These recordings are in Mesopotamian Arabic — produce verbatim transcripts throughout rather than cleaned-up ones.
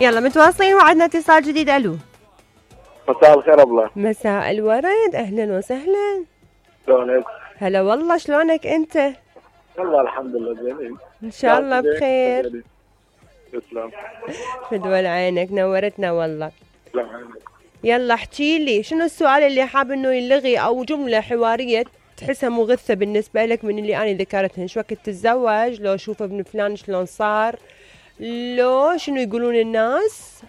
يلا متواصلين وعدنا اتصال جديد. الو مساء الخير ابله. مساء الورد، اهلا وسهلا. شلونك؟ هلا والله، شلونك انت؟ والله الحمد لله زين ان شاء الله بخير. تسلم. فدول عينك، نورتنا والله. تسلم عينك. يلا احكي لي شنو السؤال اللي حاب انه يلغي او جمله حواريه تحسها مغثه بالنسبه لك من اللي انا ذكرتهن؟ شو وقت تتزوج؟ لو شوف ابن فلان شلون صار؟ لو شنو يقولون الناس؟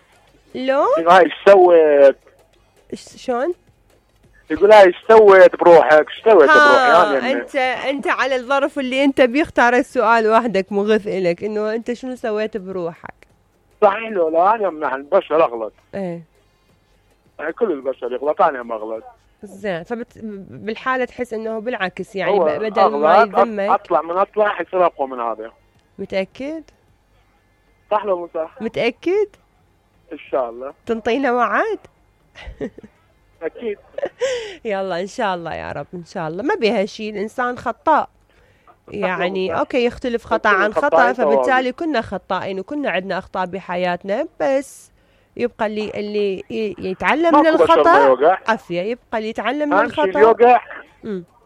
لو هاي ايش سويت؟ شلون؟ يقول هاي ايش سويت بروحك؟ ايش سويت بروحك؟ يعني انت انت على الظرف اللي انت بيختار السؤال وحدك مغث الك، انه انت شنو سويت بروحك؟ صحيح. لو لا انا من البشر اغلط. ايه يعني كل البشر يغلط، انا ما اغلط. زين، فبالحاله تحس انه بالعكس يعني بدل ما يذمك اطلع من اطلع يصير اقوى من هذا. متاكد؟ صح لو مو صح؟ متاكد؟ ان شاء الله. تنطينا وعد؟ اكيد. يلا ان شاء الله يا رب، ان شاء الله. ما بيها شيء، الانسان خطاء يعني. اوكي يختلف خطأ عن خطأ، فبالتالي كنا خطائين وكنا عندنا اخطاء بحياتنا، بس يبقى اللي اللي يتعلم من الخطأ عافية، يبقى اللي يتعلم من الخطأ يوقع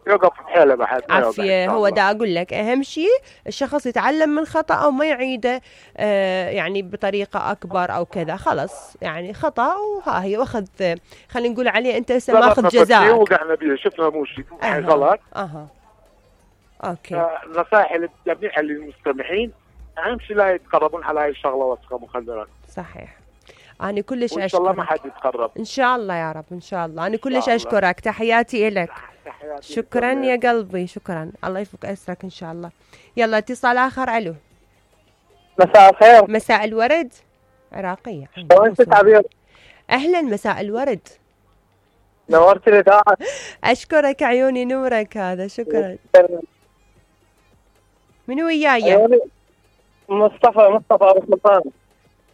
يوقف بحاله بعد عافية. هو دا اقول لك اهم شيء الشخص يتعلم من خطأ او ما يعيده آه يعني بطريقة اكبر او كذا. خلص يعني خطأ وها هي، واخذ خلينا نقول عليه انت هسه ماخذ جزاء. وقعنا بيه شفنا مو شيء أه. غلط. اها اوكي. آه نصائح للجميع للمستمعين، اهم شيء لا يتقربون على هاي الشغله وسخه مخدرات. صحيح. أنا كلش أشكرك. إن شاء الله ما حد يتقرب. إن شاء الله يا رب، إن شاء الله. أنا كلش أشكرك، تحياتي لك. تحياتي. شكرا يا قلبي، شكرا. الله يفك أسرك إن شاء الله. يلا اتصال آخر. ألو مساء الخير. مساء الورد. عراقية. وأنت تعبير. أهلا، مساء الورد. نورت الإذاعة. أشكرك عيوني، نورك هذا، شكرا. من وياي؟ مصطفى مصطفى أبو سلطان.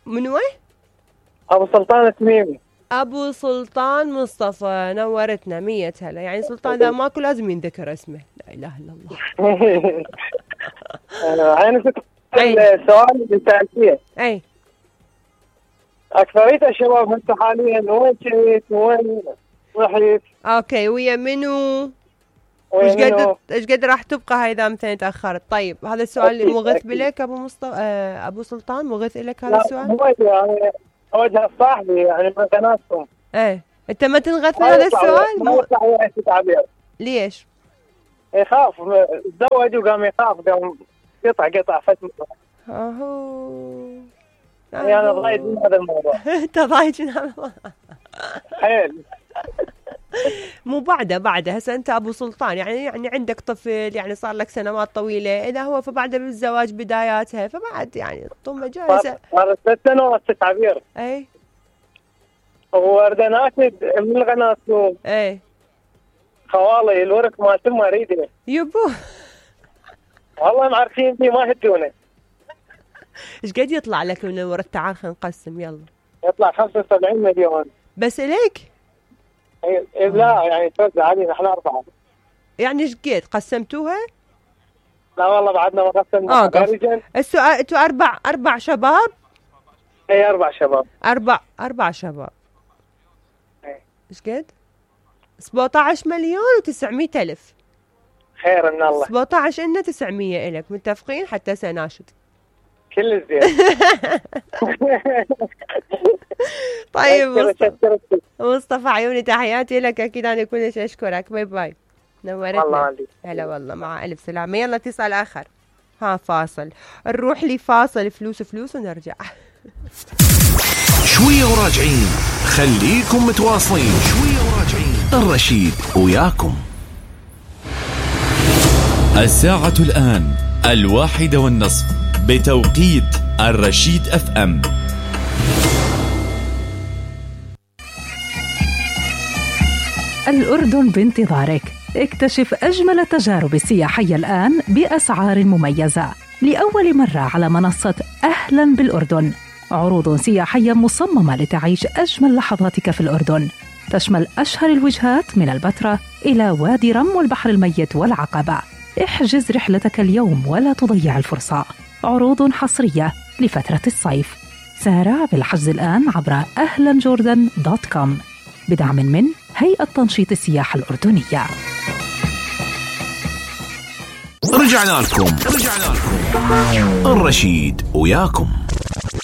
من وين؟ أبو سلطان التميمي. أبو سلطان مصطفى، نورتنا. مية هلا. يعني سلطان ذا ماكو لازم ينذكر اسمه. لا إله إلا الله. أنا كنت السؤال اللي سألتيه. أي أكثرية الشباب هسه حاليا وين كنت وين رحت؟ أوكي، ويا منو؟ ايش قد ايش قد راح تبقى هاي اذا مثلا تاخرت؟ طيب هذا السؤال مغث بلك ابو مصطفى آه ابو سلطان؟ مغث لك هذا السؤال؟ لا يعني اوجه صاحبي يعني من قناتكم. ايه انت ما تنغث من هذا السؤال؟ مو تعبير. ليش؟ يخاف تزوج وقام يخاف، قام قطع قطع فتره. اهو يعني انا ضايج من هذا الموضوع. انت ضايج من هذا الموضوع حيل. مو بعده بعده هسه انت ابو سلطان يعني يعني عندك طفل، يعني صار لك سنوات طويله، اذا هو فبعده بالزواج بداياتها، فبعد يعني طمه جاهزه. صارت ثلاث سنوات تعبير. اي وردنا ناخذ من القناه. اي خوالي الورك مالتهم ما اريده. يبو والله معرفين فيه ما هدونه. ايش قد يطلع لك من الورث؟ تعال خلينا نقسم. يلا يطلع خمسة وسبعين مليون بس ليك؟ إيه لا يعني توزع علينا احنا أربعة. يعني ايش قد قسمتوها؟ لا والله بعدنا ما قسمنا. اه السؤال انتوا أربع أربع شباب؟ اي أربع شباب. أربع أربع شباب. ايش قد؟ سبعطعش مليون وتسعمية ألف. خير ان الله. سبعطعش إلنا تسعمية إلك، متفقين؟ حتى سناشد كل زين. طيب مصطفى. مصطفى عيوني تحياتي لك، اكيد انا كلش اشكرك. باي باي، نورتنا. هلا والله، مع الف سلامه. يلا اتصال اخر. ها فاصل، نروح لي فاصل، فلوس فلوس ونرجع. شويه وراجعين، خليكم متواصلين. شويه وراجعين، الرشيد وياكم. الساعة الآن الواحدة والنصف بتوقيت الرشيد اف ام. الأردن بانتظارك. اكتشف أجمل التجارب السياحية الآن بأسعار مميزة لأول مرة على منصة أهلا بالأردن. عروض سياحية مصممة لتعيش أجمل لحظاتك في الأردن، تشمل أشهر الوجهات من البتراء إلى وادي رم والبحر الميت والعقبة. احجز رحلتك اليوم ولا تضيع الفرصة. عروض حصرية لفترة الصيف. سارع بالحجز الآن عبر أهلا جوردن دوت كوم بدعم من هيئة تنشيط السياحة الأردنية. رجعنا لكم رجعنا لكم الرشيد وياكم.